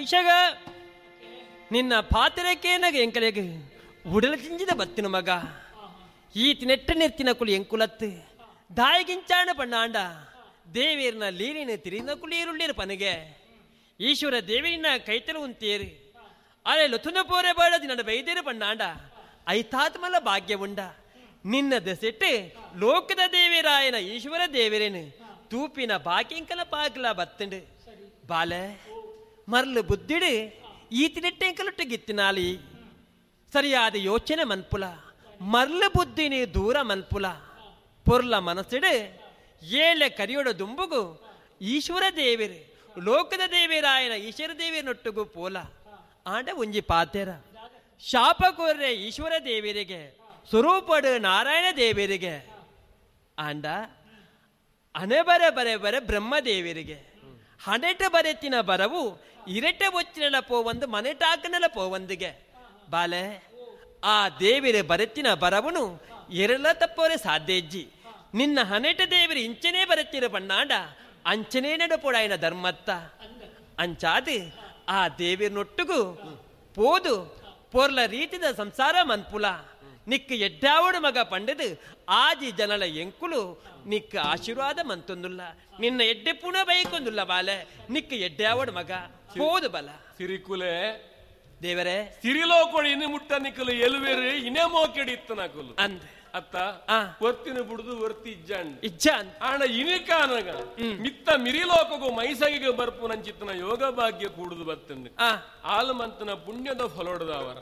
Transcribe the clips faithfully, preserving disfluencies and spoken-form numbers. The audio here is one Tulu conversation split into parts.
ಮೈಷಗ ನಿನ್ನ ಪಾತ್ರಕ್ಕೇನಾಗ ಎಂಕಲೆಗ್ ಉಡಲ ಚಿಂಜಿದ ಬತ್ತಿನ ಮಗ ಈತಿ ನೆಟ್ಟ ನೆತ್ತಿನ ಕುಲಿ ಎಂಕುಲತ್ತು ದಾಯಿಗಿಂಚಾಣ ಪಣ್ಣಾಂಡ ದೇವೇರ್ನ ಲೀಲಿನ ತಿರಿನ ಕುಲಿಯರುಳ್ಳೇರು ಪನಗೆ ಈಶ್ವರ ದೇವರಿನ ಕೈತಲು ಉಂತೇರು ಅರೆ ಲೊಥುನ ಪೋರೆ ಬಾಳದಿ ನನ್ನ ಬೈದೇರು ಪಣ್ಣಾಂಡ ಐತಾತ್ಮಲ ಭಾಗ್ಯ ಉಂಡ ನಿನ್ನ ದೆಸೆಟ್ಟು ಲೋಕದ ದೇವಿರಾಯನ ಈಶ್ವರ ದೇವರೇನು ತೂಪಿನ ಬಾಕಿಂಕಲ ಪಾಕಲ ಬತ್ತಂಡು ಬಾಲೆ ಮರ್ಲು ಬುದ್ಧಿಡು ಈತಿನೆಟ್ಟೆಂಕಲೊಟ್ಟು ಗಿತ್ತಿನಾಲಿ ಸರಿಯಾದ ಯೋಚನೆ ಮನ್ಪುಲ ಮರ್ಲು ಬುದ್ಧಿನಿ ದೂರ ಮನ್ಪುಲ ಪೊರ್ಲ ಮನಸ್ಸಿಡು ಏಳೆ ಕರಿಯೋಡ ದುಂಬುಗು ಈಶ್ವರ ದೇವಿರು ಲೋಕದ ದೇವಿರಾಯನ ಈಶ್ವರ ದೇವಿಯನೊಟ್ಟಿಗೂ ಪೋಲ ಆಂಡ ಒಂಜಿ ಪಾತೆರ ಶಾಪ ಕೋರ್ರೆ ಈಶ್ವರ ದೇವರಿಗೆ ಸ್ವರೂಪಡು ನಾರಾಯಣ ದೇವರಿಗೆ ಆಂಡ ಅನೆ ಬರೆ ಬರೆ ಬರೆ ಬ್ರಹ್ಮದೇವರಿಗೆ ಹಣೆಟ ಬರೆತಿನ ಬರವು ಇರಟೆ ಬೊಚ್ಚಿನೆಲ ಪೋವಂದು ಮನೆಟಾಕನೆಲ ಪೋವಂದಿಗೆ ಬಾಲೆ ಆ ದೇವಿರ ಬರೆತಿನ ಬರವನು ಎರಲ ತಪ್ಪೋರೆ ಸಾಧ್ಯ ಇಜ್ಜಿ ನಿನ್ನ ಹನೆಟ ದೇವರು ಇಂಚನೇ ಬರೆತಿರ ಬಣ್ಣಾಂಡ ಅಂಚನೇ ನಡಪೋಡಾಯನ ಧರ್ಮತ್ತ ಅಂಚಾದು ಆ ದೇವಿರನೊಟ್ಟಿಗೂ ಪೋದು ಪೊರ್ಲ ರೀತಿದ ಸಂಸಾರ ಮನ್ಪುಲ ನಿಕ್ಕ ಎಡ್ಡಾವಡು ಮಗ ಪಂಡದು ಆಜಿ ಜನಲ ಎಂಕುಲು ನಿಕ್ಕ ಆಶೀರ್ವಾದ ಮಂತೊಂದುಲ್ಲ ನಿನ್ನ ಎಡ್ಡೆ ಪುಣ ಬೈಕೊಂದುಲ್ಲ ಬಾಲೆ ನಿಕ್ಕ ಎಡ್ಡಾವಡು ಮಗ ಪೋದು ಬಲ ಸಿರಿಕುಲೆ ದೇವರೇ ಸಿರಿಲೋಕೊಡಿ ಇನ್ನು ಮುಟ್ಟ ನಿಕ್ಕಲು ಎಲುವೆರು ಇನೇ ಮೋಕೆಡಿ ಇತ್ತು ನಕುಲು ಅಂದ ಅತ್ತ ವರ್ತಿನ ಬುಡುದು ವರ್ತಿ ಇಜ್ಜಾಂಡ್ ಇಜ್ಜಾಂಡ್ ಆಣ ಇನಿಕಾನಗ ಮಿತ್ತ ಮಿರಿಲೋಕಗೂ ಮೈಸಗಿಗೆ ಬರ್ಪು ನಂಚಿತ್ತನ ಯೋಗ ಭಾಗ್ಯ ಕೂಡುದು ಬತ್ತಂದು ಆಲಮಂತನ ಪುಣ್ಯದ ಫಲೋಡದವರ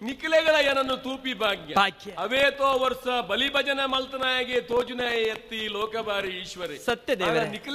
ನಿಖಿಲೆಗಳ ಏನನ್ನು ತೂಪಿ ಭಾಗ್ಯ ಅವೇತೋ ವರ್ಷ ಬಲಿ ಭಜನೆ ಮಲ್ತನಾಯಗೆ ತೋಜುನಾಯ ಎತ್ತಿ ಲೋಕಬಾರಿ ಈಶ್ವರಿ ಸತ್ಯ ದೇವರೇ ನಿಖಿಲೆ